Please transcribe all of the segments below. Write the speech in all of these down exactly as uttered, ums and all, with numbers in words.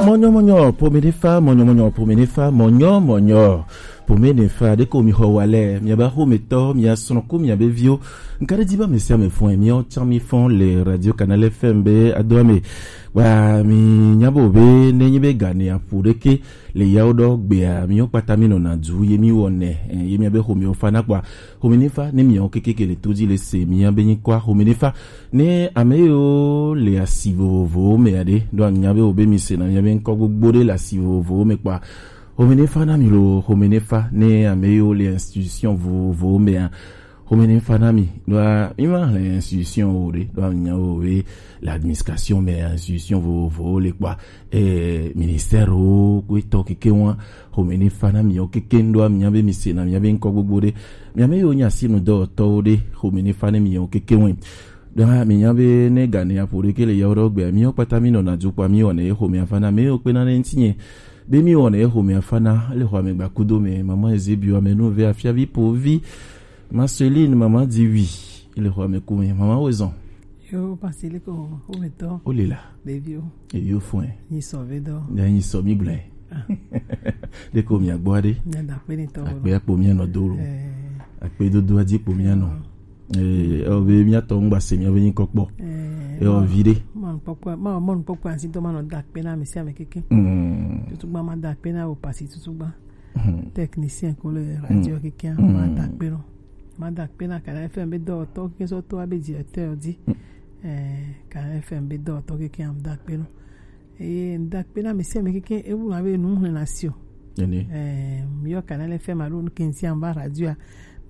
Mɔnyɔmɔnyɔ pomenefa, mɔnyɔmɔnyɔ pomenefa, mɔnyɔmɔnyɔ pomenefa. Ɖeko mi xɔ wa lɛ, miabe axometɔ, mia srɔ̃ ku miabe viwo. Nka ɖe dzi be ame sia ame fɔe, miawo tsã mi fɔ le Radio Canal F M be adoa me. Wa mi nya bo be ne nyi be gane aƒo ɖeke le yawo ɖɔ gbea, miwo kpata mi nɔna du ye mi wɔnɛ, eh, ye miabe xomewo fana kpɔa. Xomenefa ne miawo kekeke le to dzi le se mia be nyikɔa xomenefa. Ne ame yiwo le asi vovovowo mea ɖe, ɖo anya be wo be mi sena mia be ŋkɔ gbogbo ɖe le asi vovovowo me kpɔa. Xomenefa na mi lo, xomenefa ne ame yiwo le institution vovovowo mea. Xomenefa na mi, ɖoa mi ma hle institution wo ɖe, ɖoa nya wo be le administration me institution vovovowo le kpɔa. Eh, ministère wo ko etɔ keke wa, xomenefa na mi wo keke ɖoa mi nya be mi sena mia be ŋkɔ gbogbo ɖe. Mia me yiwo nya sinu dɔwɔtɔwo ɖe, xomenefa ne mi wo keke wa. Ɖa mi nya be ne gane aƒo ɖeke le yawo ɖɔ gbea, mi wo kpata mi nɔna du kpɔa mi wɔnɛ ye xomea fana, me yiwo kpena ne ŋtinye. Be mi wɔnɛ ye xomea fana, le xɔ ame gbakudo me, mama Ezebio ame nu ve afiavi po vi. Marceline, mama di wi, le xɔ ame ku me, mama wo zɔn. Yo, Pastor, le ko, wo me tɔ. O le la. Ɖeviwo. Ɖeviwo fɔe. Nyi sɔ ve dɔ. Ya nyi sɔ mi gblɛ. Ah. Ɖeko mia gbɔ ɖe. Mia da kpe ni tɔ. Akpe akpo mia nɔ do lo. Eh. Akpe dodo adzi kpo mia nɔ. Eh, o be mia tɔ ŋgba se mia be nyi kɔkpɔ. Eh, eh, o vi ɖe. Mɔnukpɔkpɔ, mɔ, mɔnukpɔkpɔ asi to ma nɔ da kpe na ame sia ame keke. Mm. Tutugba ma da kpe na wo pasi tutugba. Mm. Technicien ko le radio keke ma da kpe no. Ma da kpe na Canal F M be dɔwɔtɔ keke sɔ to abe directeur di. Mm. Eh, Canal F M be dɔwɔtɔ keke am da kpe no. Eye ŋda kpe na ame sia ame keke ewu ma be nu hlẽ na si o. Ene. Eh, mi yɔ Canal F M alo nu ke ŋti amba radio a,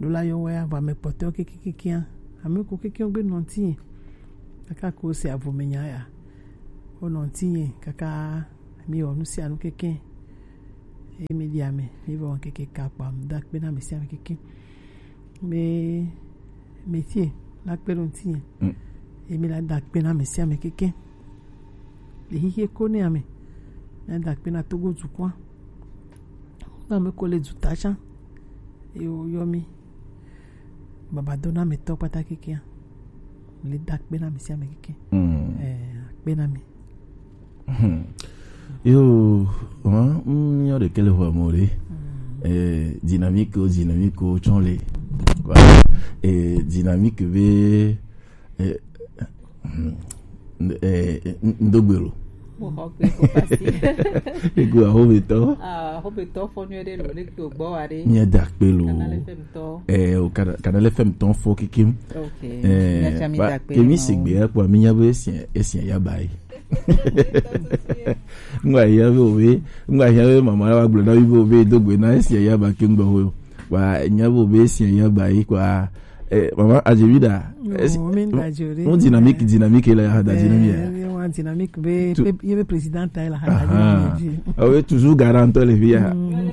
ɖo la yɔ wɛ a, vɔ ame kpɔtɔewo keke keke a, ame ko keke wo gbe nɔ ŋti ye. Kaka ko se avo me nya ya. Wo nɔ ŋti ye, kaka mi wɔ nu sia nu keke. Eye mi ɖi ame, mi vɔ keke ka kpa ŋda kpe na ame sia ame keke. Me, me tie, la kpe ɖo ŋti ye. Mm. Emi la da kpe na ame sia ame keke. Le xixie ko ne ame. Na da kpe na Togo dukɔa. Na ame ko le duta tsã. Ye wo yɔ mi. Baba do na ame tɔ kpata kekea. Le da kpe na ame sia ame keke. Mm. Eh, kpe na mi. Hmm. Yo, hein, mm, yo de kele ho mo le. Eh, dynamique o, dynamique o, tsɔn le. Voilà. Eh, dynamique be, eh, hmm, eh, n-, n-, ndo gbelo. Mo xɔ gbe ko pasi. Ego ahometɔ. Ah, ahometɔ fɔ nyuie ɖe lo, le ko gbɔ wa ɖe. Mia da kpe lo. Canal F M tɔ. Eh, o Canal, Canal F M tɔ fɔ kikim. Ok. Eh, mia tsa mi ba, da kpe kemi le ma se o. Gbe ya kpɔ, mi nya be esia, esia ya ba yi. Ŋgba hia be obe, ŋgba hia be mama la wa gblɔ na mi be obe do gbe na esia ya ba ke ŋgba ho. Wa nya be obe esia ya ba yi kwa. Eh, mama Ajevida. No, esi-, mi da jore. Mon dynamique, dynamique la ya da dynamique. Eh, wa dynamique be, tu- be, ye be président ta la ha da. Aha. Dynamique. Ah oui, toujours garant le via. Mm.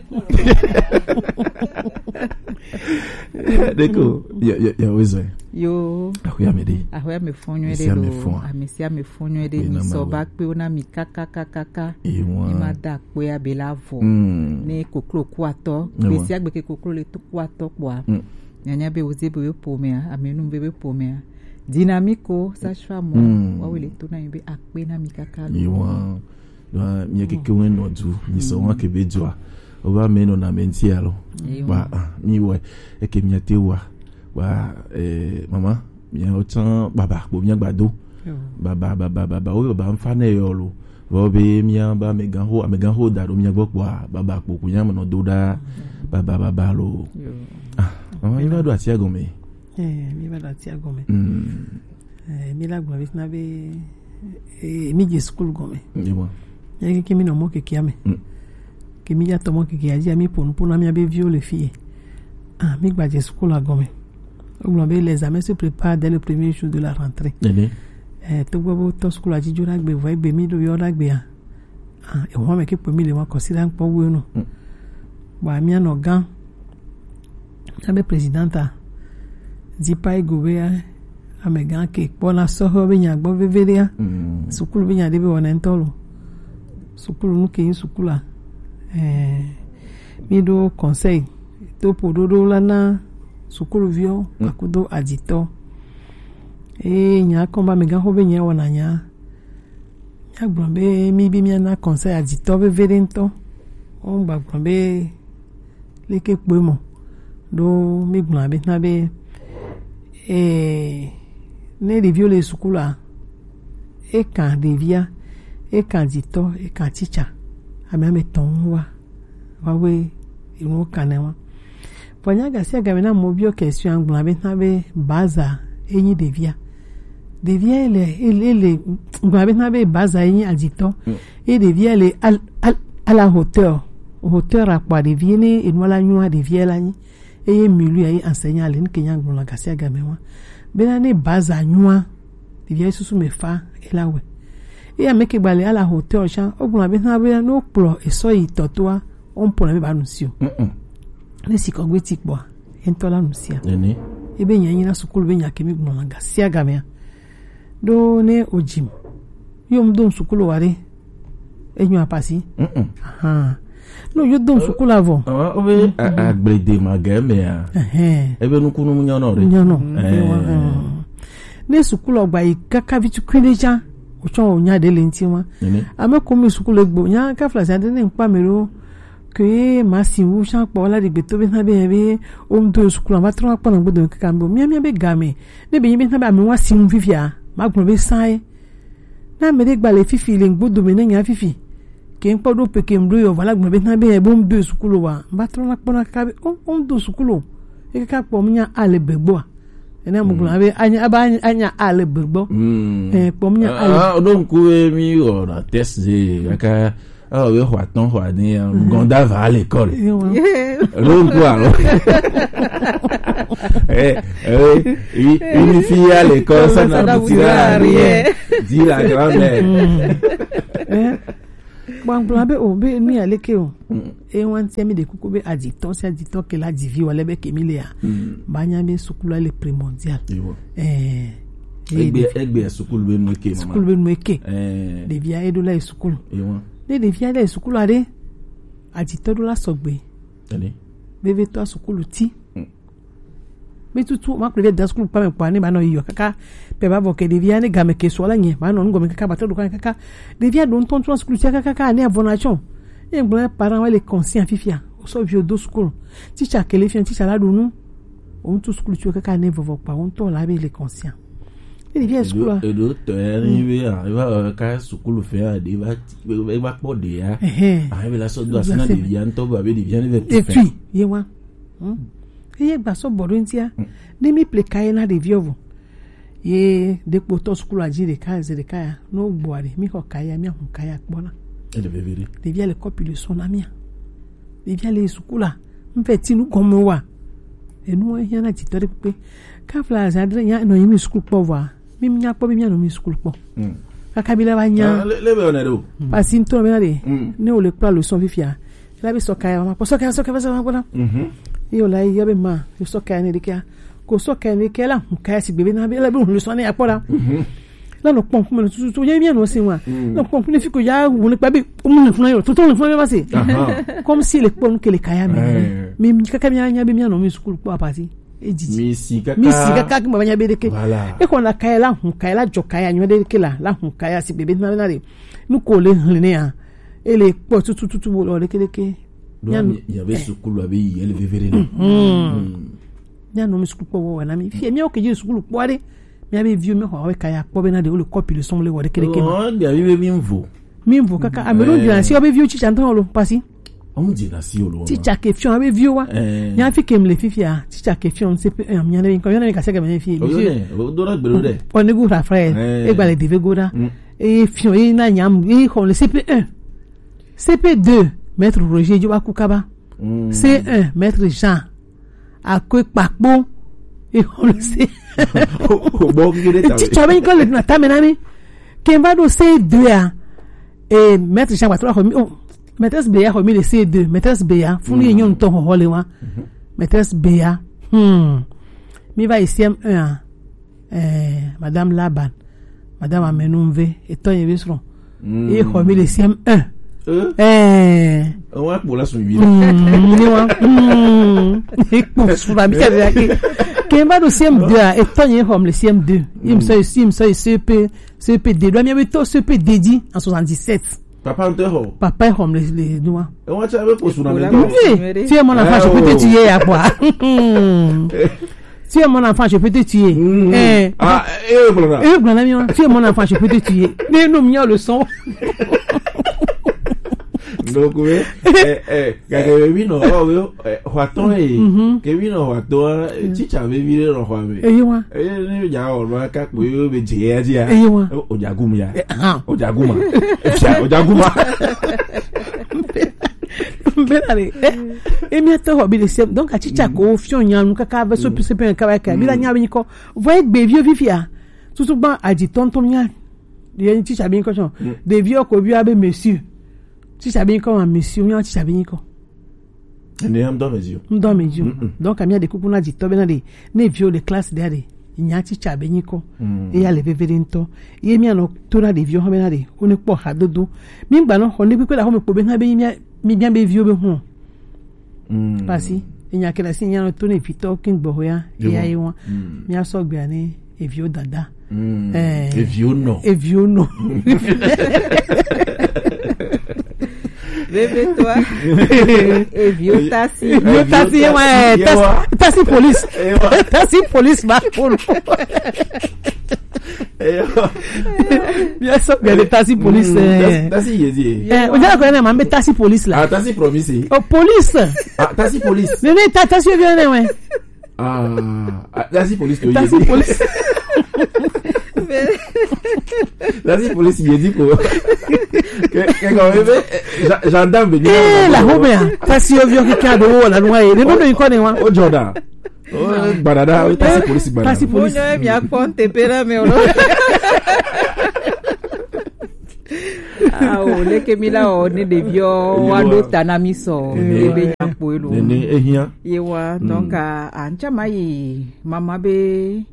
Deko, ya, ya, ya, ozo. Yo. Ahoya me de. Ahoya me fɔ nyuie ɖe lo. Ame sia ame fɔ nyuie ɖe. Ame sia ame fɔ nyuie ɖe. Ena mi sɔ ma ba kpe wo na mi kaka, kaka, kaka. Ewa. Mi ma da kpe abe la vɔ. Mm. Ne koklo ku atɔ. Ewa. Gbe sia gbe ke koklo le to ku atɔ kpɔa. Mm. Nyanya be woze be be pomea, ame nu be be pomea. Dynamique o, sage-femme o. Mm. Wa wo le to na mi be akpe na mi kaka lo. Ewa. Ɖoa, mia keke ŋue nɔ du, mi sɔ wa ke be dua. O ba me nɔ na me ŋti alo. Eyo. Ba, ah, mi wɛ, eke mia te wa. Ba, eh, mama, mia o tsan baba, bo mia gbado. Yo. Baba, baba, baba, o baba nfa ne yo lo. Vɔ be mia ba ame gan ho, ame gan ho da ɖo mia gbɔ kpɔa, baba kpo ku nya me nɔ do ɖa. Baba, baba lo. Yo. Ah, mama, mi va ɖo atia gɔme. Eh, mi va ɖo atia gɔme. Mm. Eh, mi la gblɔ be na be, eh, mi dze sukulu gɔme. Ewa. Ye ke mi nɔ mɔ kekea me. Mm. Ke mi dza tɔ mɔ kekea dzi, mi ƒo nu ƒo na mia be viwo le fi ye. Ah, mi gba dze sukulu gɔme. Wogblɔ be les examens se préparent dès le premier jour de la rentrée. Ene. Eh, togbɔ be wotɔ sukulu dzi dzo ɖa gbe vɔ egbe mi ɖo yɔ ɖa gbea. Ah, eho ame ke kpe mi le wa kɔsiɖa ŋkpɔ wu enu. Mm. Bɔ mia nɔ gã. Abe présidenta. Di pa ego be, eh, amegã ke kpɔna sɔhɛ be nya gbɔ veve ɖea. Mm. Sukulu be nya ɖe be wɔna ŋutɔ lo. Sukulu nu ke nyi sukula. Eh, mi ɖo conseil. To ƒo ɖoɖo la na sukuluviwo, mm, akudo adzitɔ. Eye nya kɔ be amegã xo be nya wɔna nya. Agblɔ be mi bi mia na conseil aditɔ vevie ɖe ŋutɔ. Wo gba gblɔ be leke kpoe mɔ ɖo mi gblɔ be na be eh ne ɖeviwo le sukulu a, e kan ɖevia, e kan aditɔ, e kan teacher, ame ame tɔn wa. Wawe inuwo kanɛ wa. Vɔ nya gasi agame na mo biɔ question agblɔ be na be baza enyi ɖevia. Ɖevia ele ele ele gblɔ be na be baza enyi aditɔ. Ye ɖevia le al al ala hauteur. Hauteur akpa ɖevia ne enu ala nyua ɖevia la nyi. Eye milu ya yi enseignant le nke nya gblɔ la gasi agame wa. Bena ne baza nyua ɖevia susu me fa ela we. Eye ame ke gba le ala hauteur sha o gblɔ be na be no kplɔ esɔ yi tɔtoa o mpɔ na me ba nu si o. Ne si kɔgbe ti kpɔa, e ŋutɔ la nu sia. Ebe nya nyi na sukulu be nya ke mi gblɔ na gasi agamea. Ɖo ne o jim. Yo m do sukulu wa ɖe. E nyo apasi. Aha. No yo do sukulu avɔ. Awa o be agblede ma ge me ya. Ebe nukunu mu nyɔnɔ ɖe. Nyɔnɔ. Ne sukulu gba yi kaka vitu kwinde ja. O tsɔ o nya ɖe le ŋti wa. Ame ko mi sukulu egbo nya ka fla sa ɖe ne nkpa me ɖo. Ke ma si wu sha kpɔ la ɖi gbeto be na be be o ŋdo sukulu ma trɔ kpɔ na gbedo kaka mbo mia mia be game ne be nyi be na be ame wa si wu fifia ma gblɔ be sa ye na me ɖe gba le fifi le gbodo me ne nya fifi ke ŋkpɔ ɖo pe ke ŋdo yɔ va la gblɔ be na be be o ŋdo sukulu wa ba trɔ na kpɔ na kaka be o o ŋdo sukulu e kaka kpɔ mia ale be gboa ene mo gblɔ be anya aba anya ale be gbo eh kpɔ mia ale ah o do nku mi o na test de kaka Ah, we xɔ atɔn xɔ ade ya. Gɔnda va à l'école. Rongo alors. Eh, eh, une fille à l'école, ça n'aboutira à rien. Dit la grand-mère. Bon, bon, be o be mi aleke o. E wan ti mi de kuku be aditɔ si aditɔ ke la divi wala be ke mi le ya. Ba nya be sukulu le primordial. Eh. Egbe egbe sukulu be nu ke mama. Sukulu be nu ke. Eh. Ɖevia eɖo la sukulu. Ne ɖevia le sukulu aɖe, aditɔ ɖo la sɔgbe. Vevitɔ sukulu ti. Be tutu ma kple da sukulu kpame kpɔ ne ba nɔ yiyɔ kaka pe ba vɔ ke ɖevia ne game ke sɔ la nye ba nɔ nugɔme kaka ba tɔ ɖo kaka ɖevia ɖo ŋutɔ ŋutɔ sukulu ti kaka kaka ne avɔ na tsɔ. Ye gblɔ parent wa le conscient fifia o sɔ vi o do sukulu. Teacher ke le fia teacher la ɖo nu. O ŋutɔ sukulu ti kaka ne vɔvɔ kpa o ŋutɔ la be le conscient. Ɖevi ya sukulu a. Eɖo tɔ ya ni be a eva ka sukulu fɛ a ɖe va eva kpɔ ɖe ya. Ahe be la sɔ do asi na ɖevi ya ŋutɔ be abe ɖevi ya ne ve tu fɛ. Etui ye wa. Eye gba sɔ bɔ ɖo ŋutia. Ne mi ple ka ye na ɖevi ɔvo. Ye ɖekpo tɔ sukulu adzi ɖeka ze ɖeka ya. No gbɔ aɖe mi xɔ ka ya mi ahu ka ya kpɔ na. Ele veve ɖe. Ɖevi ya le kɔpi le sɔ na mia. Ɖevia le sukulu a, mfɛ ti nu gɔme wa. Enu hiã na dzitɔ ɖe kpekpe. Kafla za dre nya nɔ yimi sukulu kpɔ vɔa. Mi nya kpɔ bi mia nɔ mi sukulu kpɔ. Kaka bi la va nya. Le be one do. Pasi ntɔ be na de. Ne o le kpla leçon fifia. La be sɔka ya ma kpɔ sɔka sɔka sɔka ma kpɔ na. Yo la ya be ma, yo sɔka ne de kia. Ko sɔka ne kia la, ka ya si be na be la be leçon ne ya kpɔ la. La nɔ kpɔm kume tututu nye mia nɔ si wa. Nɔ kpɔm kume fi ko ya wo ne kpa bi mu ne funa yo. Toto ne funa yo ma se. Comme si le kpɔm ke le kaya mi. Mi mi kaka mi anya bi mia nɔ mi sukulu kpɔ apasi. E didi. Mi si kaka. Mi si kaka ki ma nya be de ke. Voilà. E ko na kaya la hun kaya la jɔ kaya nyo de ke la. La hun kaya si bebe na na de. Nu ko le hlene ya. E le kpɔ tututu bo lo de ke de ke. Donc il y avait sukulu abi il y a le vevere. Mia nɔ mi sukulu kpɔ wɔ na mi. Fi mi o ke je sukulu kpɔ de. Mia be viwo mi xɔ awe kaya kpɔ be na de o le kɔpi le sɔn le wɔ de kele kema. Oh, bia mi be mi vo. Mi vo kaka ame ɖo dina si o be viwo tsitsa ntɔ lo pasi. O dina si o lo. Tsitsa ke fiɔ be viwo wa. Nya fi ke mle fifia, tsitsa ke fiɔ C P un, mia ne ko yona mi ka se ke me fi. O do na gbero de. O ne gu ra frère. E gba le deve go da. E fiɔ e na nyam e xɔ le C P un. C P deux, maître Roger Djobaku Kaba. C un, maître Jean. Akwe kpakpo. E xɔ le C. Bon, qui est ta. Tsitsa be ko le na tame na mi. Ke va do C deux a. E maître Jean Patro xɔ mi. Maîtresse Béa xɔ mi le C deux. Maîtresse Béa, funu ye nyɔnu tɔ xɔ le wa. Maîtresse Béa. Hmm. Mi va yi C M un a. Eh, Madame Laban, Madame Amenunve, etɔ ye be srɔ̃. Ye xɔ mi le C M un. Eh. Wa kpo la sun vi. Ni wa. Ekpo sura mi kɛ de ake. Ke va ɖo C M deux a, etɔ nye xɔm le C M deux. Il me sort ici, il me sort ici, C P, C P D. Ɖo mía be to C P D dzi en soixante-dix-sept. Papa ŋutɔ xɔ. Papa xɔm le, le nua. Ewa tsa be ko suna ne. Oui, tu es mon enfant, je peux te tuer, à quoi? Tu es mon enfant, je peux te tuer. Eh. Ah, eh, voilà. Eh, voilà, mia. Tu es mon enfant, je peux te tuer. Mais non, mia le son. Donc, oui, eh, eh, gake wi nɔ, oh, wi, eh, xɔatɔ ye. Ke wi nɔ xɔatɔ, eh, teacher be vi ɖe nɔ xɔa me. Eyi wa. Eh, ne ya o nɔ ka ko yo be je ya ji ya. Eyi wa. O ja gum ya. O ja guma. O ja guma. Bena le. Eh, e mia to hɔ bi le sem. Donc a teacher ko fiɔ nya nu kaka be so pise pe kaba ka. Bi la nya be ni ko. Vo egbe vi o fifia. Tutu gba aji tonton mia. Ye ni teacher be ni ko so. De vi o ko bi a be monsieur. Teacher be ni ko ma monsieur, mia teacher be ni ko. Ne am do mesure. Ŋdɔ me dzi o. Donc, amia de kuku na dzitɔ be na de, ne viwo le classe de a de, nya tsitsa be nyikɔ. Eya le veve de ŋtɔ. Ye mia nɔ to na de viwo hã be na de, wo ne kpɔ hadodo. Mi gba nɔ xɔ ne kpekpe da xɔ me kpo be na be mia, mi bia be viwo be hɔn. Pasi, enya ke da si nya nɔ to ne vitɔ kin gbɔ ya, eya ye wa. Mia sɔ gbea ne eviwo dada. Eh, eviwo nɔ. Eviwo nɔ. Bébé toi. Eviwo tasi. Eviwo tasi, ye wa, eh, tasi, tasi police. Tasi police ba kono. Bien sûr, bien de tasi police. Tasi yezi. Eh, o jara ko ne ma be tasi police la. Ah, tasi promise. Oh, police. Ah, tasi police. Ne ne ta tasi bien ne we. Ah, ah, tasi police to tasi police. Tasi police ye di ko. Ke ke ko be gendarme be ni. Eh, la ho be a. Tasi yo vio ki ka do wo la nwa ye. Ne no ko ne wa. O joda. O gbadada, tasi police gbadada. Tasi police. Mo nyo mi a konte pera me o. Ah, o leke mi la o ne de vio wa do tana mi so. Be nya po elo. Ne ehia. Ye wa, donc, a, a, ŋtsama yi mama be,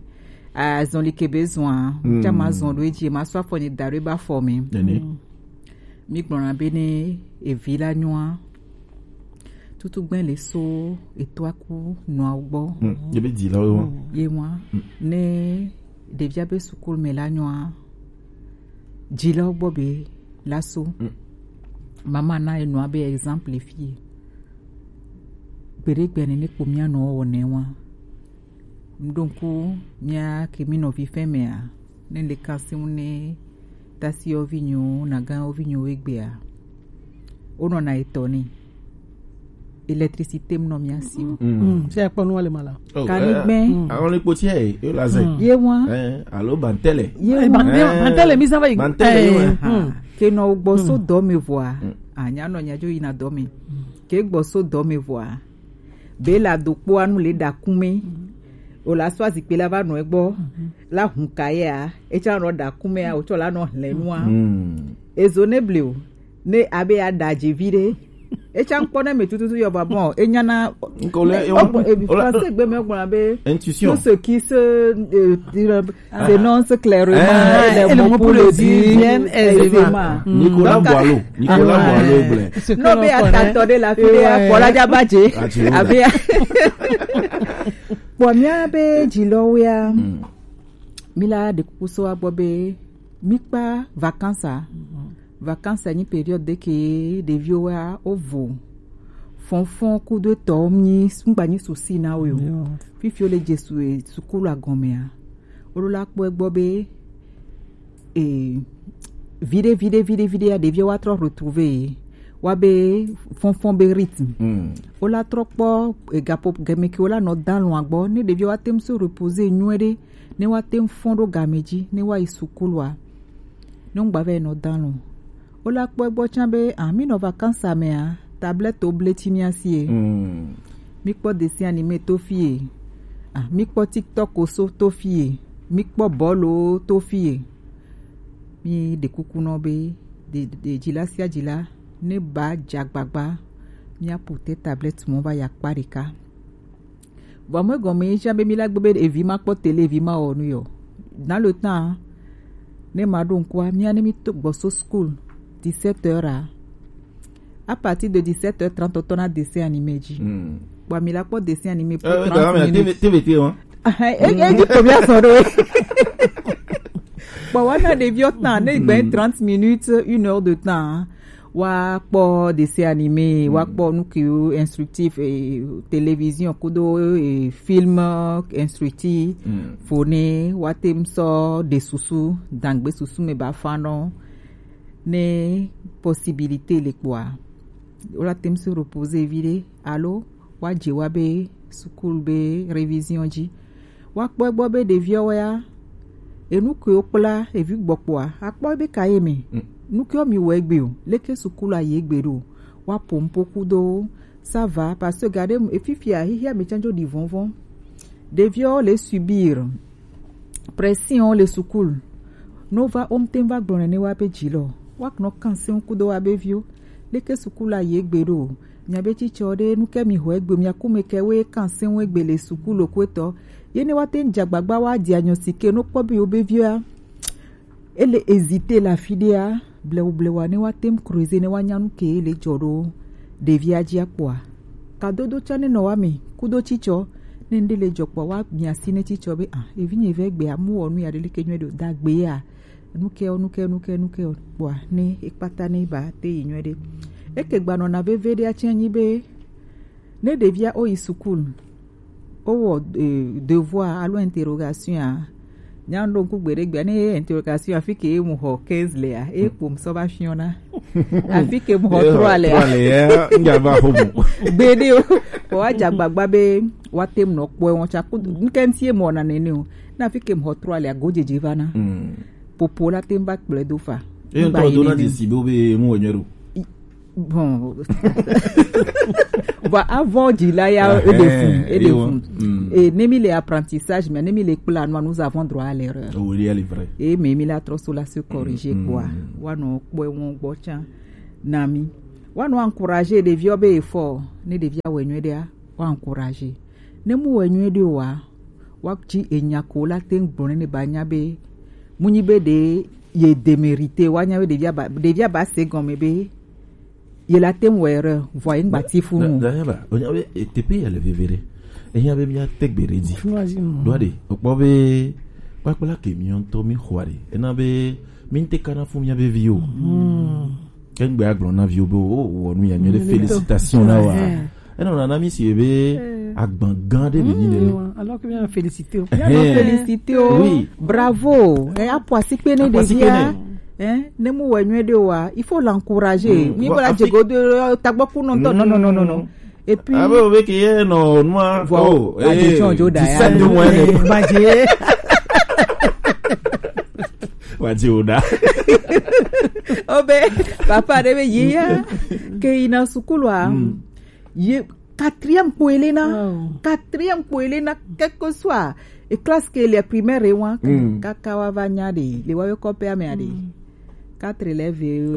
a, zɔn li ke be zɔn a, ŋtsama zɔn ɖo edzi, ma sɔ afɔ nye da ɖo ebe afɔ me. Mi gblɔna be ne evi la nyoa, tutu gbɛ le so etɔa ku nɔa gbɔ. Ye be dzilawo wa. Ye wa, ne ɖevia be sukulu me la nyoa, dzilawo gbɔ be la so. Mama na enɔa be exemple fie. Gbeɖe gbe ne ne kpo mia nɔ wɔ ne wa. Ŋɖo ŋku mia ke mi nɔvi fɛn mea, ne le kan si ŋu ne tasi yɔvi nyo, na gan yɔvi nyo egbea. Wo nɔ na etɔ ne. Électricité mu nɔ mia si o. Mm. Se akpɔ nu wale mala. Oh, kanigbɛ. Eh, eh, awon le kpoti e, yo la zɛ. Ye wa. Eh, alo bantɛlɛ. Ye wa. Bantɛlɛ, mi sa va yi. Bantɛlɛ, ye wa. Ke nɔ gbɔ so dɔ me vɔa. Anya nɔ nya jo yina dɔ me. Ke gbɔ so dɔ me vɔa. Be la do kpo anu le da kume. O la sɔ azikpe la va nɔ egbɔ. La hun ka ye a. Etsa nɔ da kume a, o tsɔ la nɔ hlɛ nua. Ezo ne ble o. Ne abe ya da dzi vi ɖe. Etsa ŋkpɔ ne me tututu yɔ va bɔ. Enya na. Nkole, français gbe me gblɔ be. Intuition. Tout ce qui se, euh, s'énonce clairement, et les mots pour le dire aisément. Nicolas Boileau. Nicolas Boileau gblɔe. No be atatɔ ɖe la fi ɖe akpɔ la dza ba dze. Abe ya. Kpɔ mía be dzilɔwoea. Mi la ɖe kuku so agbɔ be mi kpa vacances a. Vacances nyi période ɖe ke ɖeviwo wa wo vo. Fɔnfɔn kudo etɔ mi ŋgba nyi souci na wo yo. Fifi wo le Jesu e sukulu agɔmea. Wo ɖo la kpɔ egbɔ be e viɖe viɖe viɖe viɖe ya ɖeviwo wa trɔ retrouver ye. Wa be fɔnfɔn be rythme. Wo la trɔ kpɔ e gapo gɛmɛ ke wo la nɔ dalɔn agbɔ ne ɖeviwo wa tem so reposer nyuie ɖe. Ne wa tem fɔn ɖo game dzi ne wa yi sukulua. Ne ŋgba vɛ nɔ dan lo. Wo la kpɔ egbɔ tsã be, ah, mi nɔ vacances mea, tablette wo ble tsi mia sie. Mi kpɔ dessin animé to fie. Ah, mi kpɔ TikTok wo so to fie. Mi kpɔ bɔlo to fie. Mi ɖe kuku nɔ be, de, de, dzila sia dzila, ne ba dza gbagba, mia pu te tablette mɔ va ya kpa ɖeka. Vɔ me gɔme ye tsã be mi la gbe be evi ma kpɔ télé, evi ma wɔ nu yɔ. Dans le temps, ne ma ɖo ŋkua, mia ne mi to gbɔ so school, dix-sept heures a. À partir de dix-sept heures trente, tɔ na dessin animé dzi. Kpɔ mi la kpɔ dessin animé pour trente minutes. T V T wa. Eji ko mi asɔ ɖo. Bon, wana ɖeviwo tan ne gbe trente minutes, une heure de temps. Wa kpɔ dessin animé, wa kpɔ nu kiwo instructif, eh, télévision kudo, eh, film instructif. Fo ne wa tem sɔ de susu dangbe susu me ba fa nɔ ne possibilité le kpɔa. Wala tem se reposer vi ɖe alo wa dze wa be sukulu be révision dzi. Wa kpɔ egbɔ be ɖeviwo ya, enu ke wo kpla evi gbɔkpɔa, akpɔ be ka ye me. Nu ke wo mi wɔ egbe o, leke sukulu ayi egbe ɖo. Wa pompo kudo, ça va, parce que gade efifia hihia me tsanjo di vɔnvɔn. Ɖeviwo le subir pression le sukulu. No va omte va gblɔ nene wa be dzi lɔ. Wa knɔ kan se kudo wa be viwo. Leke sukulu ayi egbe ɖo. Mia be tsitsɔ ɖe nu ke mi ho egbe mia kume ke we kan se egbe le sukulu kwetɔ. Ye ne wa te dza gbagba wa diagnostic no kpɔ be yo be via. Ele hésiter le afi ɖea, blewu blewu ne wa tem creuser ne wa nya nu ke le dzɔ ɖo ɖevia dzi akpɔa. Kadodo tsã ne nɔ wa me kudo tsitsɔ ne ŋɖe le dzɔ kpɔ wa mia si ne tsitsɔ be ah evi nye ve gbe amu wɔ nu ya ɖe leke nyuie ɖo dagbe ya. Nu ke o, nu ke, nu ke, nu ke o kpɔa ne ekpata ne ba te yi nyuie ɖe. Eke gba nɔna veve ɖe atsɛ nyi be ne ɖevia o yi sukulu. Owɔ, eh, devoir alo interrogation a. Nya ɖo ŋku gbe ɖe gbea ne interrogation afi ke mu xɔ quinze lea, e kpom sɔ va fiɔna. Afi ke mu xɔ trois lea. Trois lea, ŋdza va xo mo. Gbe ɖe o. Ko wa dza gbagba be wa tem nɔ kpɔe wɔn tsa ku ŋkɛ ŋti e mɔ na nene o. Na afi ke mu xɔ trois lea go dzedze va na. Popo la tem va kplɔe do fa. E ŋtɔ do na dzi si be wo be mu wɔ nyuie ɖo. Bon. Bon, avant dzi la ya e de fun, e de fun. Et ne mi le apprentissage, mais ne mi le kpla, nous, nous avons droit à l'erreur. Oui, elle est vraie. Et mais mi la trop so la se corriger quoi. Wa no kpɔ won gbɔ tsan na mi. Wa no encourager ɖeviwo be effort, ne ɖevia wɔ nyuie ɖea, wa encourager. Ne mu wɔ nyuie ɖe wa, wa tsi enya ko la te ŋgblɔ ne ba nya be mu nyi be ɖe ye démérité, wa nya be ɖevia ba, ɖevia ba se gɔme be ye la te ŋu wɔ erreur, vɔ ye ŋgba ti fu nu. Dayaba, o nya be teƒe ya le veve ɖe. Enya be mia te gbe ɖe dzi. Ɖo aɖe, o kpɔ be kpakpla ke mi ŋutɔ mi xɔ aɖe. Ena be mi ŋte kana fu mia be viwo. Ke ŋgbe agblɔ na viwo be o wɔ nu ya nyuie ɖe, félicitations na wa. Enɔ nana mi si be agban gã ɖe be nyi ɖe. Alors que bien féliciter. Bien féliciter. Oui. Bravo. E apo asikpe ne ɖevia. Hein, ne mu wɔ nyuie ɖe wa, il faut l'encourager. Mi ko la dze godo tagbɔ ku nɔntɔ. Non, non, non, non, non. Et puis abe o be ke ye nɔ nua. Voilà. Oh, addiction jo da ya. Dix-sept de moins. Madje. Wa di o da. Obe papa ɖe be ye ya ke yina sukulu a. Ye quatrième kpo ele na. Quatrième kpo ele na, quel que soit e classe ke le primaire wa. Kaka wa va nya ɖe le wa be kɔƒea me aɖe. Quatre le ve.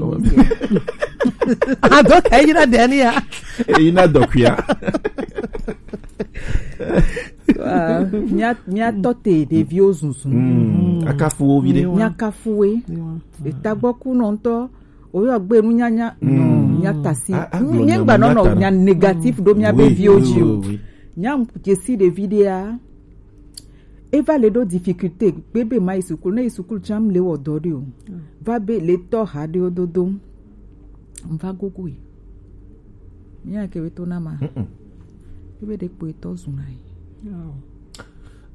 Ado ta yina ɖe ni ya. Yina dɔkuia. Mia tɔ te ɖeviwo zunzun. Akafu wo vi ɖe. Mia kafu we. Etagbɔ ku nɔntɔ. Oyɔ gbe nunyanya. No, mia tasi. Mia gba nɔ nɔ nya négatif ɖo mia be viwo dzi o. Nya jesi ɖevi ɖea. Eva le ɖo difficulté gbebe ma yi sukulu, ne yi sukulu tsam le wɔ dɔ ɖe o. Va be le tɔ ha ɖewo dodo. Va gogo yi. Mia ke be to na ma. Ebe ɖe kpo etɔ zuna yi.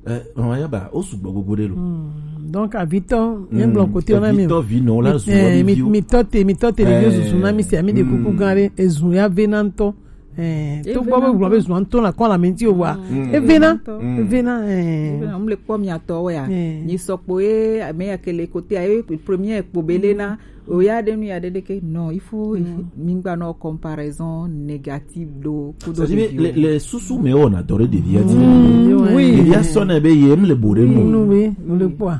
Eh, mama yaba, o sugbɔ gogo ɖe lo. Donc avitɔ, mi gblɔ kote ona mi. Avitɔ vi nɔ la zu mi, mi tɔ te, mi tɔ te ɖeviwo susu na mi si ami ɖe kuku gã ɖe ezu ya ve na ŋtɔ. Eh, to gbɔ be gblɔ be zua ŋtɔ na kɔ la menti o wa. Evena, evena, eh. Evena, mle kpɔ mia tɔ wɛ ya. Nyi sɔkpo ye ame ya ke le kote ya ye premier kpo be le na. O ya ɖe nu ya ɖe ɖeke. Non, il faut mi gba nɔ comparaison négative ɖo kudo. C'est-à-dire le, le susu me o na dɔ ɖe ɖevia di. Oui. Ɖevia sɔ ne be ye mle bo ɖe nu. Nu be, mle kpɔ.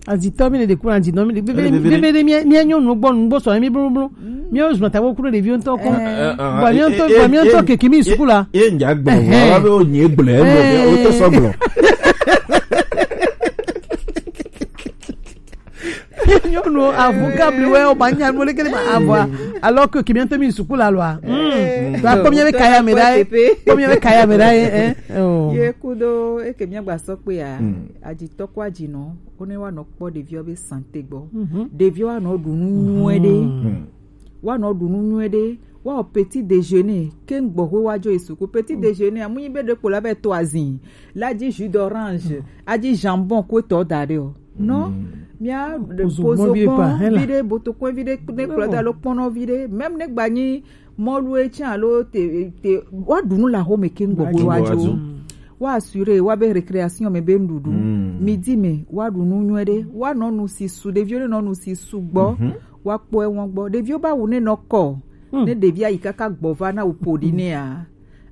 Azitɔ mi le de kura azinɔ mi le bebe bebe de mi mi nyɔ nu gbɔ nu gbɔ sɔ mi blo blo. Mi o zun ta ko kuro ɖeviwo ŋtɔ ko. Ba mi ŋtɔ, ba mi ŋtɔ keke mi sukula. Ye nya gbɔ wa be o nyi gblɛ o to sɔ gblɔ. Nyɔnu avu kabli wɛ o ba nya nu le kele ma avua. Alors que kemi ŋtɔ mi sukula lɔ a. Ba kpɔ mía be kaya me ɖa ye. Kpɔ mía be kaya me ɖa ye, eh. Oh. Ye kudo eke mía gba sɔ kpe ya. Mm. Ajitɔ ko ajinɔ, wo ne wa nɔ kpɔ ɖeviwo be santé gbɔ. Mhm. Ɖeviwo wa nɔ ɖu nu nyuie ɖe. Mm. Wa nɔ ɖu nu nyuie ɖe. Wa o petit déjeuner, ke gbɔxwe wa jo esuku. Petit déjeuner, amu nyi be ɖe kpo la be to azin. La ji jus d'orange, a ji jambon ko tɔ da ɖe o. Non, mía pozo gbɔn vi ɖe, botokɔe vi ɖe, ne kplɔ da lo kpɔnɔ vi ɖe. Même ne gba nyi mɔlu etsã alo te, te, wa ɖu nu le axome keŋ gbɔxwe wa dzo. Wa assurer wa be récréation me be nuɖuɖu. Midi me wa ɖu nu nyuie ɖe. Wa nɔ nu si su, ɖeviwo ne nɔ nu si su gbɔ. Wa kpɔ ewɔn gbɔ. Ɖeviwo ba wu ne nɔ kɔ. Ne ɖevi ayi kaka gbɔ va na wu po ɖi nea,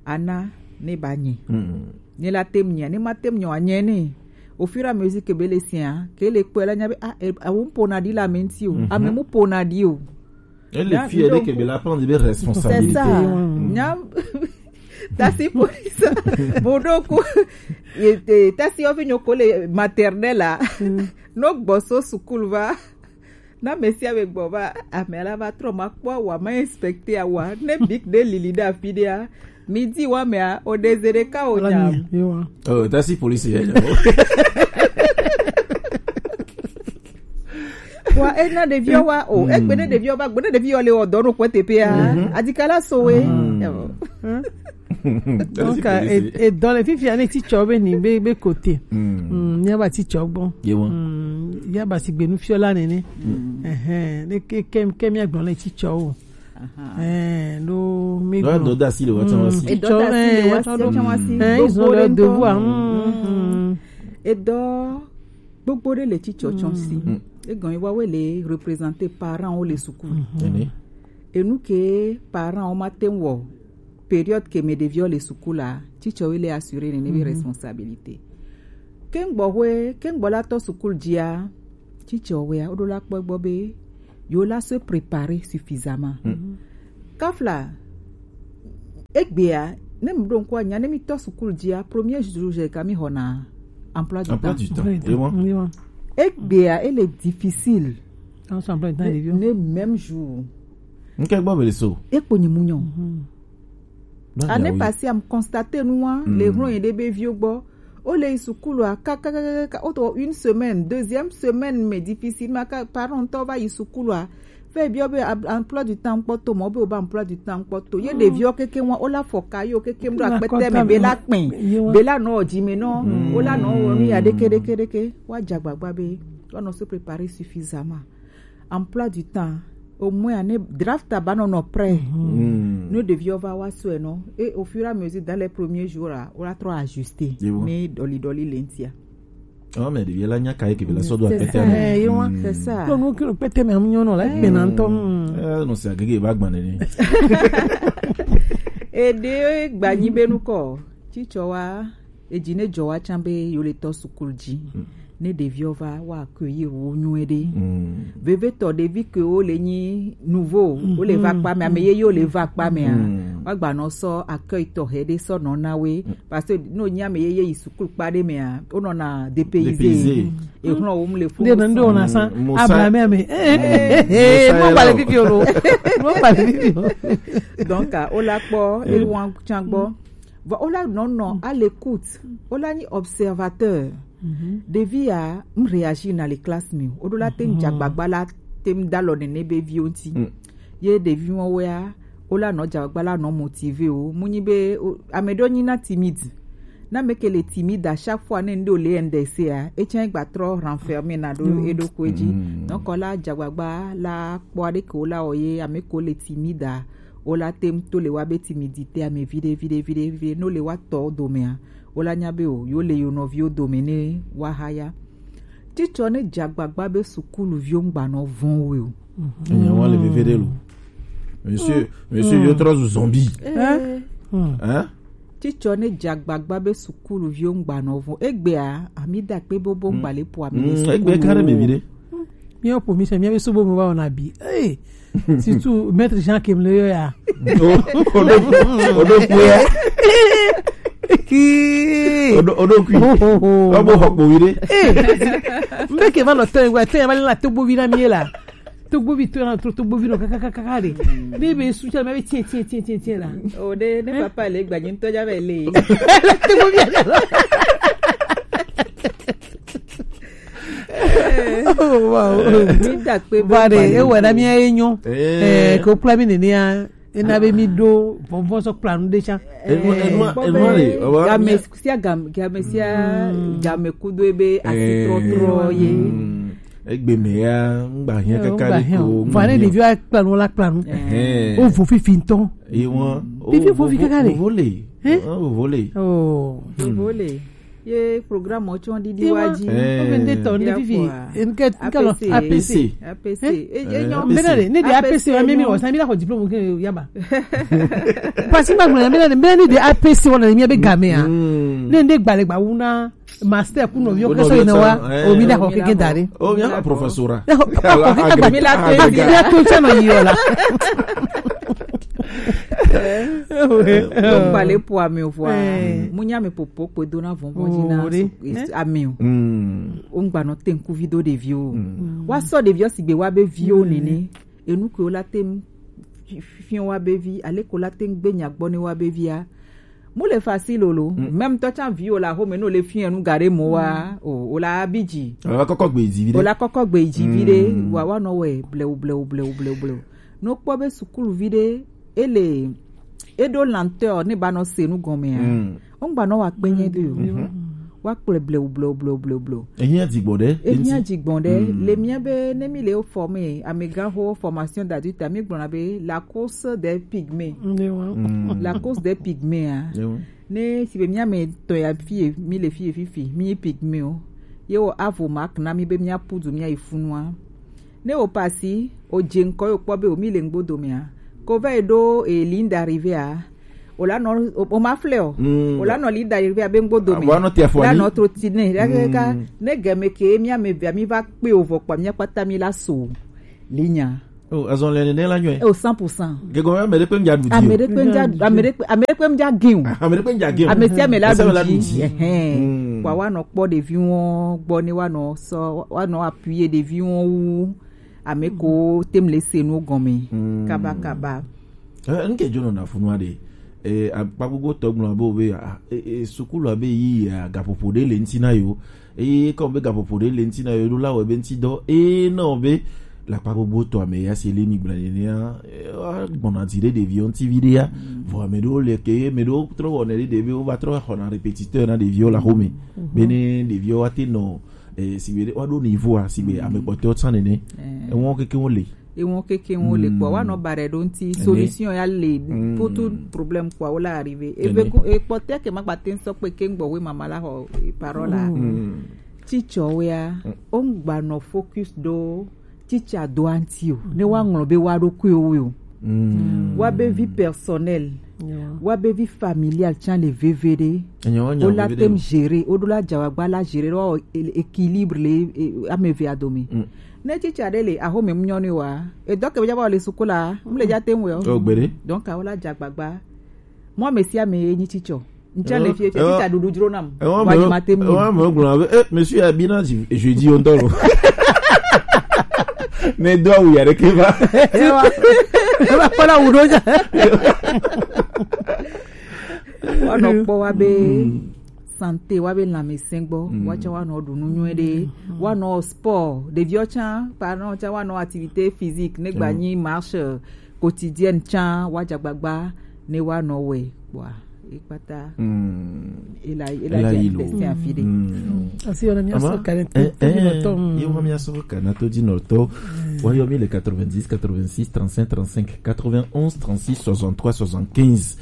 ana ne ba nyi. Ne la tem nyia, ne ma tem nyia, wa nyɛ ne. Au fur et à mesure que be le sia, ke le kpɔe la nya be, ah, eh, awo mu pona ɖi la menti o. Ame mu pona ɖi o. Et le fier de que be la prendre des responsabilités. C'est ça. Nya tasi police. Bon, donc, e, e, tasi ovi nyoko le maternelle la. No gbɔ so sukulu va. Na mesia be gbɔ va, ame la va trɔ ma kpɔ wa ma inspecter wa. Ne bic de lili da fi de a. Midi wa mea, o dezere ka o nya. Oh, tasi police ya. Wa ena ɖeviwo wa o, egbe ne ɖeviwo va, gbe ne ɖeviwo le o dɔ no kpɔ teƒea. Adikala so we. Donc, e, e dɔ le fifia ne titsɔ be ni be, be kote. Mm, mía ba titsɔ gbɔ. Ye wa. Mm, mía ba si gbe nufiɔla nene. Ehɛn, ne ke, ke, ke mía gblɔ le titsɔ o. Ehɛn, ɖo mi gblɔ. Ɖo dɔ da si le wa tsan wa si. Titsɔ, eh, tsan wa si. Eh, ils ont leur devoir. Mm. Edɔ gbogbo ɖe le titsɔ tsɔ si. Egɔn yi wa we le représenter parents wo le sukulu. Ene. Enu ke parents wo ma te wɔ période ke me ɖeviwo le sukulu a, titsɔwo le assurer ne be responsabilité. Ke ŋgbɔ hwe, ke ŋgbɔ la tɔ sukulu dzia, titsɔwo ya, woɖo la kpɔ gbɔ be yo la se préparer suffisamment. Kafla, egbea, ne mi ɖo ŋkɔ nya, ne mi tɔ sukulu dzia, premier jour je ka mi hɔna emploi du temps. Emploi du temps. Oui, oui. Egbea, ele difficile. Ne même jour. Nke gbɔ bele so. Ekpo nyi munyɔ. Année passée, am constater nua, le hron ye de be viwo gbɔ. O le sukulu a, ka, ka, ka, ka, ka, o to une semaine, deuxième semaine, mais difficilement, ka, parent tɔ va yi sukulu a. Fɛ biɔ be emploi du temps kpɔ to, mɔ be o ba emploi du temps kpɔ to. Ye ɖeviwo keke wa, o la fɔ ka yo keke mɖo akpɛtɛ me be la kpɛ. Be la nɔ dzi me nɔ. O la nɔ wɔ nu ya ɖeke, ɖeke, ɖeke. Wa dza gbagba be, wa nɔ se préparer suffisamment. Emploi du temps, au moins, année draft a ba nɔ nɔ prêt. Ne ɖeviwo va wa sɔe nɔ, et au fur et à mesure, dans les premiers jours, là, on a trop ajusté. Mais doli doli lentia. Oh, mais ɖevi la nya ka ye ke be la sɔ do akpɛtɛ me. Eh, ye wa. C'est ça. Donc, nous, que le pɛtɛ me amu nyono la, pe na ntɔ. Eh, non, c'est agege ba gban ne. Et de gba nyi be nu kɔ. Titsɔ wa, edzi ne dzɔ wa tsan be yo le tɔ sukulu dzi. Ne ɖeviwo va, wa accueillir wo nyuie ɖe. Vevetɔ ɖevi ke wo le nyi nouveau, wo le va kpa me, ame yeye wo le va kpa me a. Wa gba nɔ sɔ accueil tɔxɛ ɖe sɔ nɔ na we. Parce que no nyi ame yeye yi sukulu kpa ɖe me a, wo nɔ na dépaysé. Dépaysé. E hlɔn wo mu le fu. Nde me ndo na san. Abla me ame. Eh, eh, eh, mo ba le bibi o lo. Mo ba le bibi o. Donc, ah, o la kpɔ, e wan tsan gbɔ. Vɔ, o la nɔ nɔ à l'écoute. O la nyi observateur. Ɖevi ya, m réagir na le classe me. O ɖo la te dza gbagba la te da lɔ nene be viwo ŋuti. Ye ɖevi wo ya, o la nɔ dza gbagba la nɔ motiver wo. Mu nyi be, o, ame ɖewo nyi na timide. Na ame ke le timide à chaque fois ne ŋɖe o le ndese a, etsã gba trɔ renfermer na ɖo eɖokui dzi. Donc o la dza gbagba la kpɔ ɖe ke o la wɔ ye, ame ke le timide a, o la te to le wa be timidité ame viɖe, viɖe, viɖe, viɖe, no le wa tɔ domea, o la nya be o, yo le yo nɔviwo dome ne wa haya. Titsɔ ne dza gbagba be sukuluviwo ŋgba nɔ vɔn we o. Enye wa le veve ɖe lo. Monsieur, monsieur, yo trɔ zu zombie. Hein? Titsɔ ne dza gbagba be sukuluviwo ŋgba nɔ vɔn. Egbea, ami da kpe bobo ŋgba le po ami le sukulu. Egbe ka ɖe me viɖe. Míawo ƒo mi se, míabe subo me va wɔna bi. Hey! Surtout maître Jean Kem le yɔ ya. O, o ɖo, o ɖo kui ya. Ki. O ɖo, o ɖo kui. Ho, ho, ho. Wa bo xɔ kpo vi ɖe. Hey! Mbe ke va nɔ tɔ wa, tɔ ya va le na to bo vi na mi la. Togbovi to na tro togbovi no kaka kaka de. Ne be su cha me be tie tie tie tie tie la. O de ne papa le gba nyi to ja be le. Togbovi ya. Oh, wow. Mi da pe ba de e wa na mi e nyo. Eh, ko kpla mi ni ni a. E na be mi do vɔvɔ sɔ kpla nu de cha. Enua enua enua le. Game sia game game sia game kudo ebe asi trɔ trɔ ye. Egbe me ya ngba hiã kaka ɖe ko. Vɔ ne ɖeviwo akpla nu la kpla nu. Wo vo fifi ŋutɔ. Ye wọn. Fifi vo fi kaka ɖe. Vo le. Vo le. Oh. Vo le. Ye programme wo tsɔ ɖiɖi wa dzi. Wo be nde tɔ nde fifi. Nke nke lɔ A P C. A P C. A P C. Enyo. Mbena de ne de A P C wa mi mi wɔ sa mi la xɔ diplôme ke yaba. Parce que ma gblɔ mbena de mbena ne de A P C wa na mi be game a. Ne nde gbalẽ gba wu na master ku nɔviwo ke sɔ yina wa o mi da xɔ keke da ɖi. O mi a professora. Mi la to mi la to tsɛ nɔ yi o la. Gbalẽ po ame o vɔa. Mu nya me popo kpe do na vɔnvɔn dzi na ame o. O ŋgba nɔ te ŋkuvi do ɖeviwo. Wa sɔ ɖeviwo sigbe wa be viwo nene. Enu ke wo la te ŋ fi- fi- fiɔ wa be vi ale ko la te ŋ gbe nya gbɔ ne wa be via. Mu le facile o lo. Même tɔ tsa vi o la xome no le fiɔ nu ga ɖe mo wa o o la bi dzi. Ala kɔkɔ gbe dzi vi ɖe. O la kɔkɔ gbe dzi vi ɖe wa wa nɔ wɛ blewu blewu blewu blewu blewu. No kpɔ be sukulu vi ɖe ele eɖo lenteur ne ba nɔ se nu gɔmea. O ŋgba nɔ wa kpe nyɛ do o. Wa kplɔe blewu blewu blewu blewu blewu. Ehiã dzigbɔ ɖe. Ehiã dzigbɔ ɖe. Le mía be ne mi le forme amegãxo formation d'adulte mi gblɔna be la course des pygmées. La course des pygmées a. Ne si be mía me tɔ ya fie mi le fie fifi mi pygmées o. Ye wo avo mak na mi be mía pudu mía yi funua. Ne wo pasi o dze ŋkɔ yo kpɔ be o mi le ŋgbo domea. Ko va yi ɖo e ligne d'arrivée a. O la nɔ o ma flɛ o. O la nɔ ligne d'arrivée a be ŋgbo dome. O la nɔ trotine ɖe kaka ne game ke mía me via mi va kpe o vɔ kpa mía kpata mi la so ligne a. Oh, azɔn le nene la nyɔe. O cent pour cent. Gego ame ɖe kpe ŋdza ɖu di. Ame ɖe kpe ŋdza ame ɖe kpe ame ɖe kpe ŋdza gin o. Ame ɖe kpe ŋdza gin o. Ame sia ame la ɖu di. Ɛhɛn. Wa wa nɔ kpɔ ɖeviwo gbɔ ne wa nɔ sɔ wa nɔ appuyer ɖeviwo wu. Ame ko tem le se nu gɔme. Kaba kaba. Eh, nke jono na funua de. Eh, akpa gbogbo tɔ gblɔ abe wobe ah, eh, eh, sukulu abe yi ya gaƒoƒo ɖe le ŋuti na yo. Eye kɔ be gaƒoƒo ɖe le ŋuti na yo ɖo la wɔ be ŋuti dɔ. Eye na wo be le akpa gbogbo tɔ ame ya si le mi gblɔ nenea, eh, gbɔna dzi ɖe ɖeviwo ŋuti vi ɖe ya. Vɔ ame ɖewo le ke ame ɖewo trɔ wɔnɛ ɖe ɖe be wova trɔ xɔna répétiteur na ɖeviwo le axome. Be ne ɖeviwo wa te nɔ eh, si be wa ɖo niveau a si be ame kpɔtɔewo tsã nene. Ewo keke wo le. Ewo keke wo le kpɔ wa nɔ ba ɖe ɖo ŋuti solution ya le pour tout problème kpɔ wo la arrivé. Eve ko ekpɔtɔe ke ma gba te sɔ kpe ke ŋgbɔ we mama la xɔ parole la. Teacher wo ya o ŋgba nɔ focus ɖo teacher do anti o ne wa ŋlɔ be wa ɖo kue wo o. Wa be vie personnelle, wa be vie familiale tsã le veve ɖe. O la tem gérer o ɖo la dza wa gba la gérer ɖo équilibre le ame eve adome. Ne teacher ɖe le axome mu nyɔ ne wa edɔ ke be dza va le sukula mu le dza tem wɛ o. Donc awo la dza gbagba. Mɔ ame sia ame ye nyi teacher. Ŋtsɛ le fie fie teacher ɖuɖu dzro nam. Wa nyi ma tem. Wa me gblɔ be eh monsieur abi na jeudi o ŋutɔ lo. Ne do awu ya ɖeke va. Eva kpɔ la wu ɖo dza. Wa nɔ kpɔ wa be santé wa be lãmesẽ gbɔ wa tsã wa nɔ ɖu nu nyuie ɖe wa nɔ sport ɖeviwo tsã parents tsã wa nɔ activité physique ne gba nyi marche quotidienne tsã wa dza gbagba ne wa nɔ wɛ kpɔa ekpata ela ela dze tɛsɛ afi ɖe. Asi yɔ na mi asɔ ka ne to dzi nɔtɔ. Yɔ na mi asɔ ka na to dzi nɔtɔ. Wa yɔ mi le quatre-vingt-dix quatre-vingt-six trente-cinq trente-cinq quatre-vingt-onze trente-six soixante-trois soixante-quinze.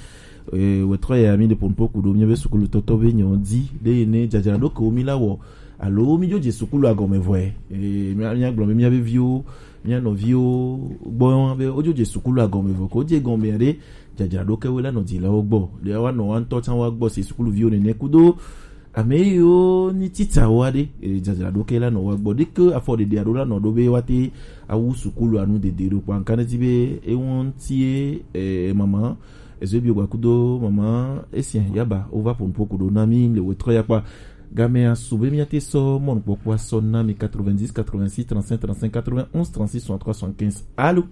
Wetɔ ya mi de pompo ku ɖo mi be sukulu tɔtɔ be nyɔ di ɖe ne dzadzra ɖo ke wo mi la wɔ alo mi dzo dze sukulu agɔme vɔe. Mia gblɔ be mia be viwo mia nɔviwo gbɔ be wodzo dze sukulu agɔme vɔ ko dze gɔme ɖe dzadzraɖo ke wo la nɔ dzilawo gbɔ ɖe wa nɔ wa ŋutɔ tsã wa gbɔ se sukuluviwo nene kudo ame yiwo ni titsawo aɖe dzadzraɖo ke la nɔ wa gbɔ ɖe ke afɔɖeɖe aɖo la nɔ ɖo be wa te awu sukulu anu dede ɖo kpa nka ne ti be ewo ŋuti ye mama ezo bi gba kudo mama esi yaba wo va ƒo nuƒo ku ɖo na mi le wetɔ ya kpa Game asu be miate sɔ mɔnukpɔkpɔ asɔ na mi quatre-vingt-dix, quatre-vingt-six, trente-cinq, trente-cinq, quatre-vingt-onze, trente-six, soixante-trois, soixante-quinze. Allô?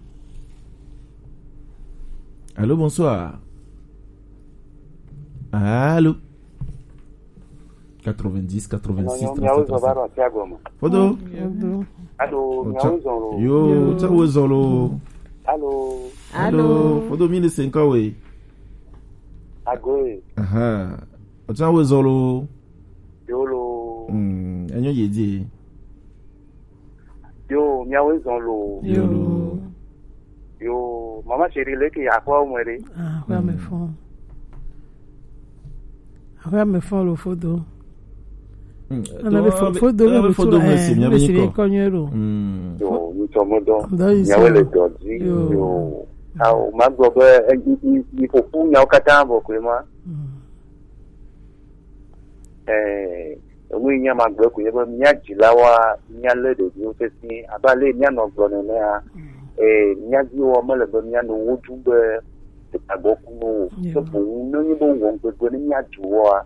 Allô, bonsoir. Allô? quatre-vingt-dix, quatre-vingt-six, trente-cinq, trente-cinq. Fodo. Fodo. Allô, miawo zɔn lo. Yo, tsa wo zɔn lo. Allô. Allô. Fodo mi le cinq ans, oui. Agoe. Aha. Otsa wo zɔn lo. Yo lo. Hmm, enyo ye di. Yo, miawo zɔn lo. Yo lo. Yo, mama chérie, leke ya kwa mwe de. Ah, kwa me fon. Kwa me fon lo fodo. Hmm, ana be fo-, fodo be fodo me si mi ko nyo lo. Hmm. Yo, ni to mo do. Miawo le do di. Yo. Yo. Awo, ma gbɔ be, eh, i, i, i fo fu nyawo kata bo kwe ma. Hmm. Eh, enu yi nya magblɔe ko nye be mía dzilawoa, míalé ɖeviwo sesĩe abe ale yi míanɔ gblɔ nenea. Eh, mía viwo mele be míanɔ wo ɖum be agɔ ku no o. Ke boŋ ne nyi be wɔ ŋgbegbe ne mía du woa,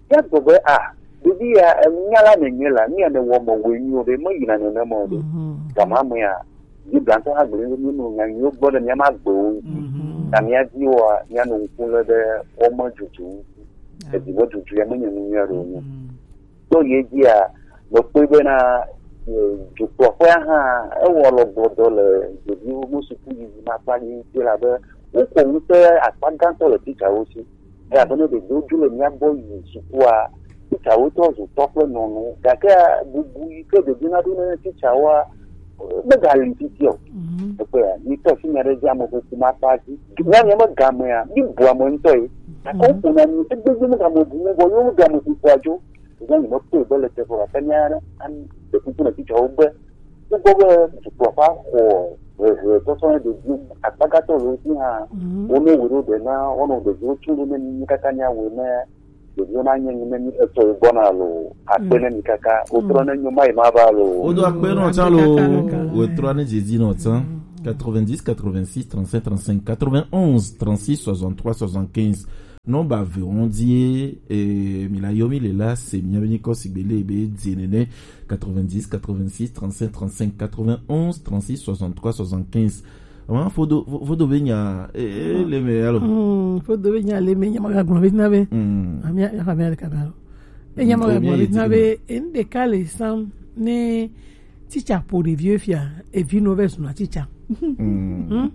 míagblɔ be, ah, ɖevi ya, enu nya la nènye la, nu ya nèwɔ me wɔe nyuie o ɖe, meyina nenema o ɖe. Gama amea, Biblia ŋutɔ hã gblɔe be míenɔ nya nyuiwo gblɔ ɖe mía ƒe agbewo ŋu. Ta mía viwoa, míanɔ ŋku lém ɖe wo me dudu ŋuti. Evi me dudu ya menye nu nyui aɖe wònye. To ye dzia, mekpɔe bena, eh, dukplɔƒea hã, ewɔ alɔgbɔdɔ le ɖeviwo ƒe sukuyiyi makpa dzi ŋuti elabe wokɔ ŋusẽ akpa gãtɔ le titsawo si. Elabe ne ɖeviwo dzo le mía gbɔ yi sukua, titsawo trɔ zu tɔ kple nyɔnu. Gake bubu yi ke ɖevi naɖo ne titsawoa, megali titi o. Ekpɔe ya, mi tɔ si nya ɖe dzi ame kuku ma kpa dzi. Nya nya me gamea, mi bu ame ŋutɔ ye. Gake woƒo na mi, egbegbe me game bu mo, vɔ yewo game kukua dzo. Eza yi me kpɔe be le teƒe, gake mía an-, ɖe kuku na titsawo be, Kpɔ be dukplɔƒea xɔ hehe tɔtɔ ne ɖevi akpagatɔ le ŋuti hã, wone wòe ɖo ɖe na wonɔ ɖeviwo tso ɖo ne mi katã míawɔe ne ɖeviwo nanye nu ne mi etsɔ yi gbɔna lo, akpe ne mi kaka, wotrɔ ne nyo mayi ma va lo. Wodo akpe nɔ tsã lo, wotrɔ ne dzedzi nɔ tsã. Quatre-vingt-dix, quatre-vingt-six, trente-cinq, trente-cinq, quatre-vingt-onze, trente-six, soixante-trois, soixante-quinze. Nɔmba eve wo ŋdi ye, eh, mi la yɔ mi le la, se mia be nyikɔ sigbe le be dze nene, quatre-vingt-dix, quatre-vingt-six, trente-cinq, trente-cinq, quatre-vingt-onze, trente-six, soixante-trois, soixante-quinze. Ama fodo, fo-, fodo be nya, eh, eh, le me, alors. Hmm, fodo be nya le me, nya ma ga gbɔn be na be. Hmm. Ami, ami le kana. E nya ma ga gbɔn be na be, en de ka le sam, ne Titsa ƒo ɖeviwo fia, evi nɔ vɛ zuna titsa. Hmm?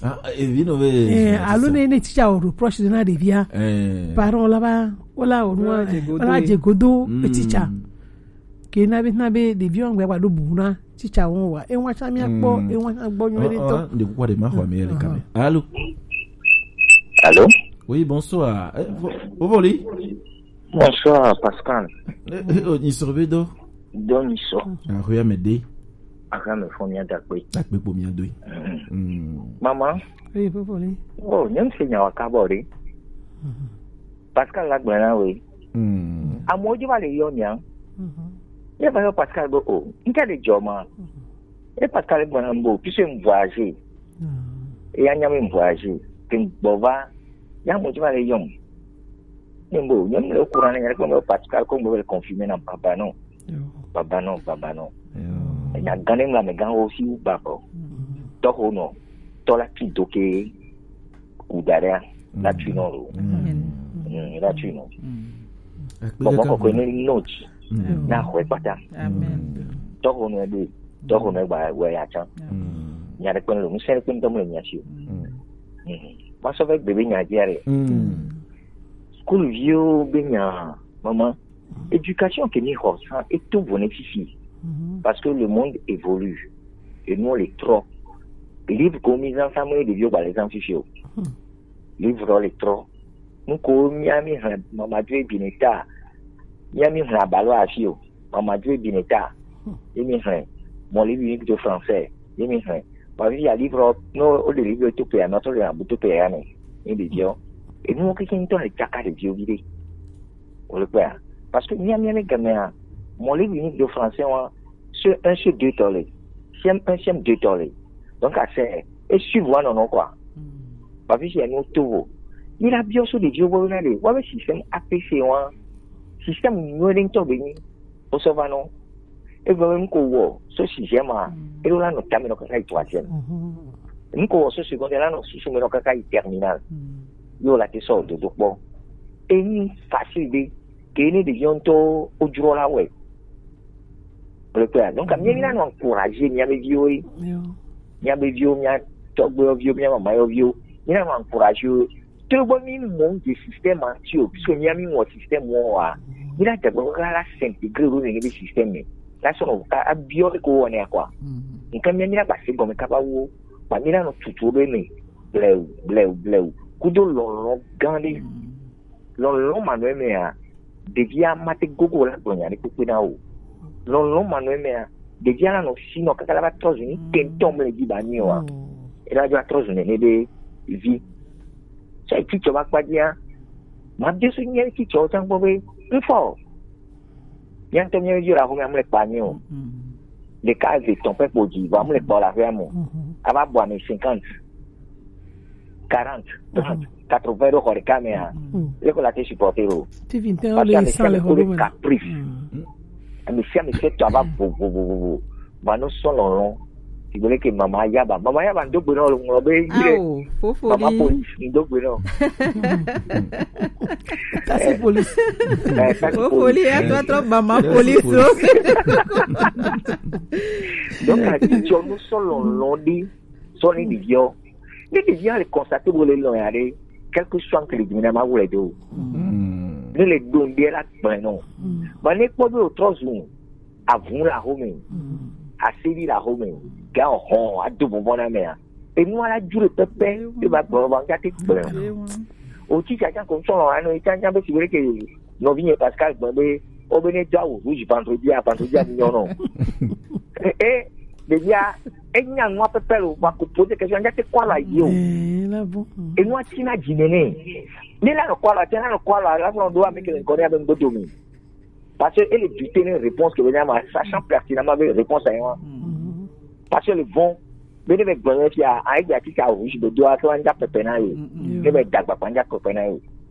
Ah, evi nɔ vɛ zuna titsa. Alo ne, ne titsa wɔ reproche na ɖevia, parent la va, wala wɔ nua, wala dze godo titsa. Ke na be, na be ɖeviwo ŋgbe gba ɖo bu na titsa wo wa. E wa tsa mia kpɔ, e wa tsa gbɔ nyuie ɖe tɔ. De kukua de ma xɔ mi le kame. Allô? Allô? Oui, bonsoir. Eh, vo-, vo voli? Bonsoir, Pascal. Eh, eh, oh, ni sorbe do? Dɔni sɔ. Ahoya me de. Ahoya me fɔ mia dakpe. Dakpe kpo mia doe. Mm. Mama. Oui, fofo le. Oh, nyem se nyawa kabɔ de. Pascal la gblẽ na we. Mm. Amewo dzi va le yɔ mia. Ye va yɔ Pascal be o. Nke de dzɔ ma. E Pascal gblẽ na bo, puisque m voyage. E ya nya me m voyage. Ke m gbɔ va. Ya amewo dzi va le yɔ m. Ne bo, nyɔnu le courant ne nya ɖe kpɔ me Pascal ko me le confirmer na baba non. Baba non, baba non. Enya gã ne mla me gã wo si baba. Tɔxo nɔ, tɔ la ti do ke ku da ɖe la tu nɔ lo. Mm, la tu nɔ. Gbɔgbɔ kɔkɔe ne nɔ dzi. Na xɔe kpata. Tɔxo nɔ ɖe, tɔxo nɔ gba wɔ ya tsã. Nya ɖe kpɔ lo, ŋusẽ ɖe kpɔ ŋutɔ mele mia si o. Wa sɔ vɛ gbe be nya dzia ɖe. School viwo be nya, mama, éducation ke mi xɔ sa eto vo ne fifi. Parce que le monde évolue. Et nous, on les trop. Livre ko mi zan sa me ɖeviwo gba le zan fifi o. Livre le trop. Nu ko mia mi hɛn mama dre bi ne ta. Mia mi hɛn abalo afi o. Mama dre bi ne ta. Ye mi hɛn. Mon livre unique de français. Ye mi hɛn. Ba vi ya livre, no, o le livre to pe, no to le na bu to pe ya ne. Ni de dio. Et nous, on ke kin to le tsaka ɖeviwo vi de. Wo le kpɔa? Parce que mia, mia le game a, mon livre unique de français, wa, C E un, C E deux tɔ le. C M un, C M deux tɔ le. Donc, à c'est, et suivre, wa, non, non, quoi. Ba fi si ya no to vo. Ni la bio so ɖeviwo bo na de. Wa be système A P C, wa. Système nyuie ɖe ŋutɔ be nyi wosɔ va nɔ. Egbe be ŋko wɔ so sixième a, eɖo la nɔ tame nɔ kaka yi troisième. Ŋko wɔ so secondaire la nɔ susu me nɔ kaka yi terminale. Yo la te sɔ dodo kpɔ. Enyi facile be ke ne ɖeviwo ŋutɔ wojrɔ la wɛ. Wole kpɔa? Donc, mía, mía nɔ encourager mía be viwo ye. Mía be viwo, mía tɔgbuiyɔviwo, mía mamayɔviwo, mía nɔ encourager wo. Togbɔ mí mɔ de système a ti o, puisque mía mí wɔ système wɔ wa. Mí la dagba la, la s'intégrer ɖo ne be système me. La sɔ nɔ a, a biɔ ɖe ko wɔ ne quoi. Nka mía, mí la gba se gɔme kaba wo, ba mí la nɔ tutu ɖe me. Bleu, bleu, bleu. Kudo lɔlɔ gã ɖe. Lɔlɔ manɔ eme a, ɖevia mate gogo la gblɔ nya ɖe kpekpe na o. Lɔlɔ manɔ eme a, ɖevia la nɔ si nɔ kaka la va trɔ zu ni kentɔn mle dzi ba nyi o a. Ela va trɔ zu nene ɖe vi. Sɛ titsɔ va kpa dzia, ma bia so nyɛ titsɔ tsan gbɔ be, ŋfɔ. Mía ŋutɔ mía yɔ la xɔmɛ amle kpa nyi o. Ɖeka eve tɔn pɛ kpo dzi, vɔ amle kpa la fɛ mo. Ava bɔ ame cinquante, quarante, trente, quatre-vingts ɖo xɔ ɖeka me a. Le ko la te supporter o. Ti vi ŋutɔ le san le xɔ ɖo me. Caprice. Ame sia ame fɛ tɔ ava bo bo bo bo bo. Ba no sɔ lɔlɔ. Ti gbele ke mama yaba. Mama yaba ndo gbe no ŋlɔ be yi ɖe. Ao, fofo mama di. Police ndo gbe no. Taxi police. Eh, taxi police. Fofoli ya trɔ trɔ mama police o. Donc, a ti jɔ no sɔ lɔlɔ di. Sɔ ni ɖevia. Ne ɖevia le constater bo le lɔ ya ɖe, quel que soit que le dimi na ma wule do. Ne le don de la gbe no. Ba ne kpɔ be o trɔ zu. Avun la xɔme, aseli la xɔme, ga hɔn ado bɔbɔ na mea. Enu ala jure pɛpɛ, e ba gbɔ ba nga te gblẽ. O ti tsatsa ko sɔlɔ ano e tsatsa be si wele ke nɔvi nye Pascal gblẽ be o be ne do awu rouge vendredi a vendredi a nyɔ nɔ. E, e, ɖevia, e nya nua pɛpɛ lo, wa ko poser question, nga te kɔ ala yi o. Enua ti na dzi nene. Ne la nɔ kɔ ala, te la nɔ kɔ ala, la fɔ do ame ke le nkɔ ne abe ŋgbedo mi. Parce que ele douter ne réponse ke be nyama, sachant pertinemment be réponse a ye wa. Parce que le bon, be ne be gblɔ ne fia, a ye ati ka rouge be do a ke wa ŋdza pepe na ye. Ne be dagba kpa ŋdza pepe na ye.